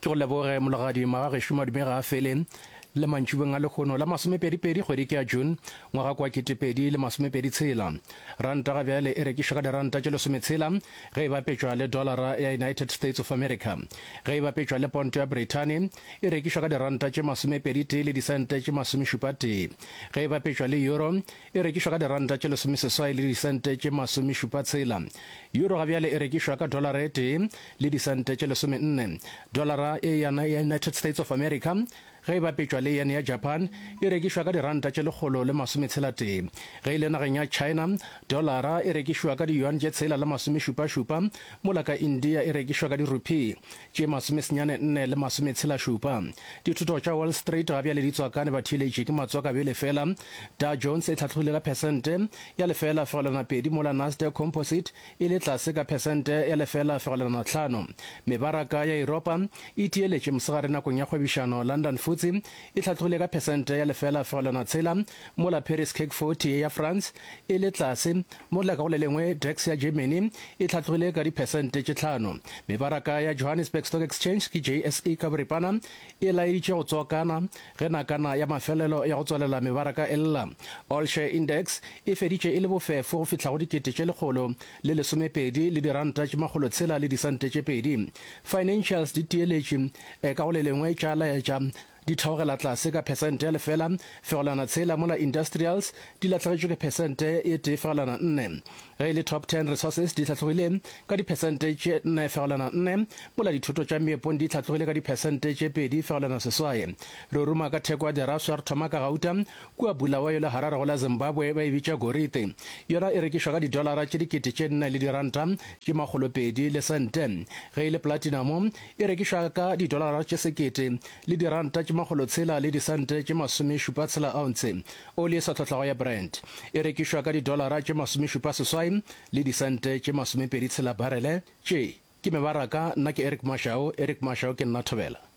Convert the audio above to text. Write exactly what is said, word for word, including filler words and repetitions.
Ke go leboge Mologadi Magagešo madume ga a fele le mantšibeng a lehono la masomepedi-pedi kgwedi ke ya June ngwaga kwa ketepedi le masomepedi tshela. Ranta ga bjale e rekišwa ka diranta tše lesometshela ge e bapetšwa le dolara ya United States of America. Ge e bapetšwa le ponto ya Brithani e rekišwa ka diranta tše masomepedi tee le disente tše masomešupa tee. Ge e bapetšwa le euro e rekišwa ka diranta tše lesomeseswai le disente tše masomešupa tshela. Euro ga bjale e rekišwa ka dolara e tee le disente tše lesomenne. Dolara e ya United States of America ge e bapetšwa le yen ya Japan e rekišwa ka diranta tše lekgolo le masometshela tee. Ge e le nageng ya China, dolara e rekišwa ka di-yuan tše tshela le masomešupa-šupa, mola ka India e rekišwa ka di-rupee tše masomesenyane nne le masometshela šupa. Dithoto tša Wall Street ga bjale di tswakane batheeletši ke matswakabele fela. Dow Jones e hlatlogile ka phesente ya lefela fegelwana pedi mola Nasdaq Composite e le tlase ka phesente ya lefela fegelwana hlano. Mebaraka ya Yuropa e tieletše mosegare nakong ya kgwebišano. London F T S E e hlatlogile ka phesente ya lefela fegelwana tshela mola Paris C A C forty ya France e le tlase, mola ka go le lengwe DAX ya Germany e hlatlogile ka diphesente tše hlano. Mebaraka ya Johannesburg Stock Exchange ke J S E ka boripana e laeditše go tswakana ge nakana ya mafelelo ya go tswalela mebaraka e lla. All Share Index e feditše e le bofefo go fihla go dikete tše lekgolo le lesomepedi le diranta tše makgolo tshela le disente tše pedi. Financials di tieletše ka go le lengwe tša laetša di theogela tlase ka phesente ya lefela fegelwana tshela mola industrials di lahlegetšwe ke phesente e tee fegelwana nne. Ge e le Top Ten Resources di hlatlogile ka diphesente tše nne fegelwana nne mola dithoto tša meepong di hlatlogile ka diphesente tše pedi fegelwana seswai. Re ruma ka theko ya diraswa re thoma ka gauta kua Bulawayo le Harare go la Zimbabwe ba e bitša gorite. Yona e rekišwa ka didolara tše dikete tše nne le diranta tše makgolo pedi le sente. Ge e le platinamo e rekišwa ka didolara tše sekete le diranta tše makgolo tshela le disente tše masomešupa tshela ounce. Oli e sa tlhohlago ya Brent e rekišwa ka didolara tše masomešupa seswai le disente tše masomepedi tshela barele. Tše ke mebaraka. Nna ke Eric Mashau, Eric Mashau ke nna Thobela.